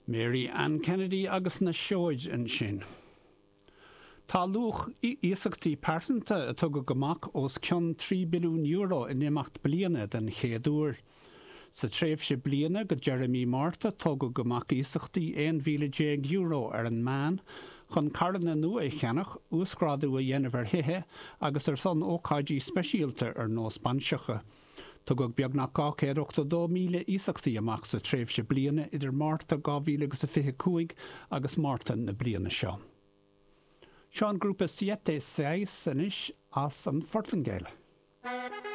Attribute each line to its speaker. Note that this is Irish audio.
Speaker 1: Mary Ann Kennedy agus na Seoid ansin. Tá luach iasachtaí pearsanta a tugadh amach os cionn €3 billiún in imeacht bliana den chéad uair. Sa tréimhse bliana go deireadh mí Márta tugadh amach iasachtaí €11,000 ar an meán chun carranna nua a cheannach, uasghrádú a dhéanamh ar thithe agus ar son ócáidí speisialta ar nós bainseacha. Tugadh beagnach 282,000 iasachtaí amach sa tréimhse bliana idir Márta 2025 agus Márta na bliana seo. Seo an grúpa Siete Seis anois as an Phortaingéil.